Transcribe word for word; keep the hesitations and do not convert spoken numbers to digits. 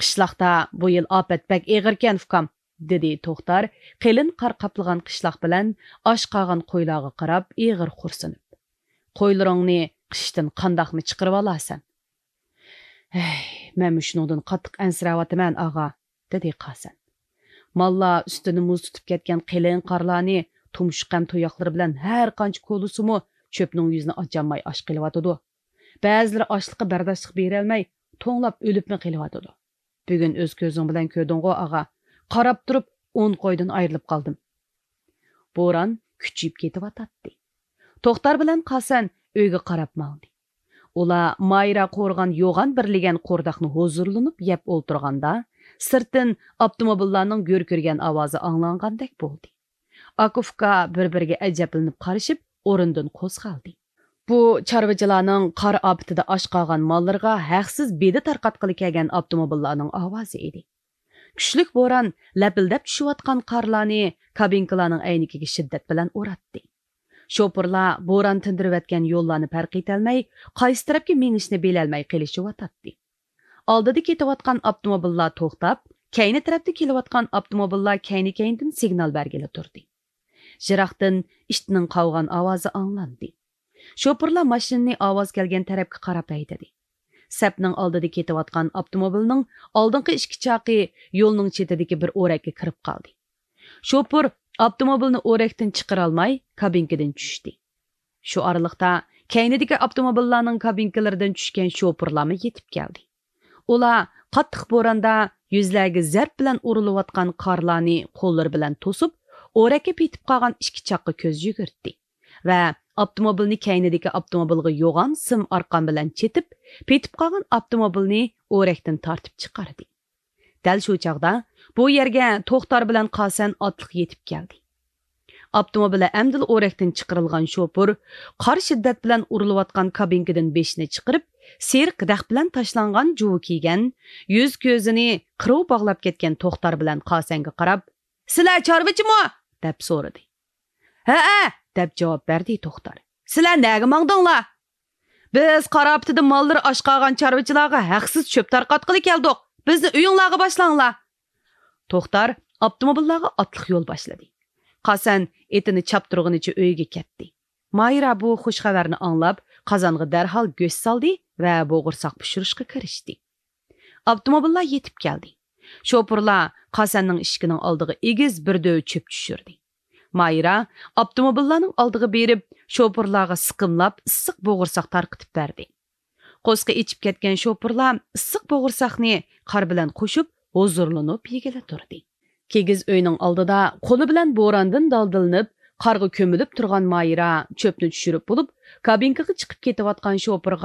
قىشلاقتا بۇ يىل ئاپەت بەك ئېغىركەن، ئۇكام، دېدى توختار قېلىن قار قاپلىغان قىشلاق بىلەن ئاچ قالغان قويلارغا قاراپ ئېغىر خورسىنىپ. قويلىرىڭنى قىشتىن قانداقمۇ چىقىرىۋالارسەن؟ ھەي، مەنمۇ شۇنىڭدىن قاتتىق ئەنسىرەۋاتىمەن، ئاغا، دېدى قاسەن. ماللار ئۈستىنى مۇز تۇتۇپ كەتكەن قېلىن قارلارنى تۇمشۇق ھەم تۇياقلىرى بىلەن ھەر قانچە كولىسىمۇ، چۆپنىڭ يۈزىنى ئاچالماي ئاچ قېلىۋاتىدۇ. بەزىلىرى ئاچلىققا بەرداشلىق بېرەلمەي، توڭلاپ ئۆلۈپمۇ قېلىۋاتىدۇ. بۈگۈن ئۆز كۆزۈڭ بىلەن كۆردۈڭغۇ، ئاغا. قاراپ تۇرۇپ، ئون قويدىن ئايرىلىپ قالدىم. بوران كۈچىيىپ كېتىۋاتاتتى. توختار بىلەن قاسەن ئۆيگە قاراپ ماڭدى. ئۇلار مايرا قورغان يوغان بىر لېگەن قورداقنى ھۇزۇرلىنىپ يەپ ئولتۇرغاندا، سىرتتىن ئاپتوموبىللارنىڭ گۈركىرىگەن ئاۋازى ئاڭلانغاندەك بولدى. ئاكا-ئۇكا بىر-بىرىگە ئەجەبلىنىپ قارىشىپ، ئورنىدىن قوزغالدى. بۇ چارۋىچىلارنىڭ قار ئاپىتىدە ئاچ قالغان ماللىرىغا ھەقسىز بېدە تارقاتقىلى كەلگەن ئاپتوموبىللارنىڭ ئاۋازى ئىدى. كۈچلۈك بوران لەپىلدەپ چۈشۈۋاتقان قارلارنى كابىنكىلارنىڭ ئەينىكىگە شىددەت بىلەن ئۇراتتى. شوپۇرلار بوران تىندۇرۇۋەتكەن يوللارنى پەرق ئېتەلمەي، قايسى تەرەپكە مېڭىشنى بىلەلمەي قېلىشىۋاتاتتى. ئالدىدا كېتىۋاتقان ئاپتوموبىللار توختاپ، كەينى تەرەپتە كېلىۋاتقان ئاپتوموبىللار كەينى-كەينىدىن سىگنال بەرگىلى تۇردى. يىراقتىن ئىتنىڭ قاۋىغان ئاۋازى ئاڭلاندى. شوپۇرلار ماشىنىنى ئاۋاز كەلگەن تەرەپكە قاراپ ھەيدىدى. سەپنىڭ ئالدىدا كېتىۋاتقان ئاپتوموبىلنىڭ ئالدىنقى ئىككى چاقى يولنىڭ چېتىدىكى بىر ئورەككە كىرىپ قالدى. شوپۇر ئاپتوموبىلنى ئورەكتىن چىقىرالماي، كابىنكىدىن چۈشتى. شۇ ئارىلىقتا كەينىدىكى ئاپتوموبىللارنىڭ كابىنكىلىرىدىن چۈشكەن شوپۇرلارمۇ يېتىپ كەلدى. ئۇلار قاتتىق بوراندا يۈزلەرگە زەرب بىلەن ئۇرۇلۇۋاتقان قارلارنى قوللىرى بىلەن توسۇپ، ئورەككە پېتىپ قالغان ئىككى چاققا كۆز يۈگۈرتتى ۋە ئاپتوموبىلنى كەينىدىكى ئاپتوموبىلغا يوغان سىم ئارقان بىلەن چېتىپ، پېتىپ قالغان ئاپتوموبىلنى ئورەكتىن تارتىپ چىقاردى. دەل شۇ چاغدا بۇ يەرگە توختار بىلەن قاسەن ئاتلىق يېتىپ كەلدى. ئاپتوموبىلى ئەمدىلا ئورەكتىن چىقىرىلغان شوپۇر قار شىددەت بىلەن ئۇرۇلۇۋاتقان كابىنكىدىن بېشىنى چىقىرىپ، سېرىق دەخ بىلەن تاشلانغان جۇۋا كىيگەن، يۈز-كۆزىنى قىرىۋ باغلاپ كەتكەن توختار بىلەن قاسەنگە قاراپ، «سىلەر چارۋىچىمۇ؟» دەپ سورىدى. «ھەئە!» دەپ جاۋاب بەردى توختار. «سىلەر نەگە ماڭدىڭلار؟» «بىز قار ئاپىتىدە ماللىرى ئاچ قالغان چارۋىچىلارغا ھەقسىز چۆپ تارقاتقىلى كەلدۇق. بىزنى ئۆيۈڭلارغا باشلاڭلار.» توختار ئاپتوموبىللارغا ئاتلىق يول باشلىدى. قاسەن ئېتىنى چاپتۇرغىنىچە ئۆيىگە كەتتى. مايرا بۇ خۇش خەۋەرنى ئاڭلاپ، قازانغا دەرھال گۆش سالدى ۋە بوغۇرساق پىشۇرۇشقا كىرىشتى. ئاپتوموبىللار يېتىپ كەلدى. شوپۇرلار قاسەننىڭ ئىشىكىنىڭ ئالدىغا ئېگىز بىر دۆۋە چۆپ چۈشۈردى. مايرا ئاپتوموبىللارنىڭ ئالدىغا بېرىپ، شوپۇرلارغا سىقىملاپ ئىسسىق بوغۇرساق تارقىتىپ بەردى. قورسىقى ئېچىپ كەتكەن شوپۇرلار ئىسسىق بوغۇرساقنى قار بىلەن قوشۇپ، ھۇزۇرلىنىپ يېگىلى تۇردى. كىگىز ئۆينىڭ ئالدىدا قولى بىلەن بوراندىن دالدىلىنىپ، قارغا كۆمۈلۈپ تۇرغان مايرا چۆپنى چۈشۈرۈپ بولۇپ، كابىنكىغا چىقىپ كېتىۋاتقان شوپۇرغا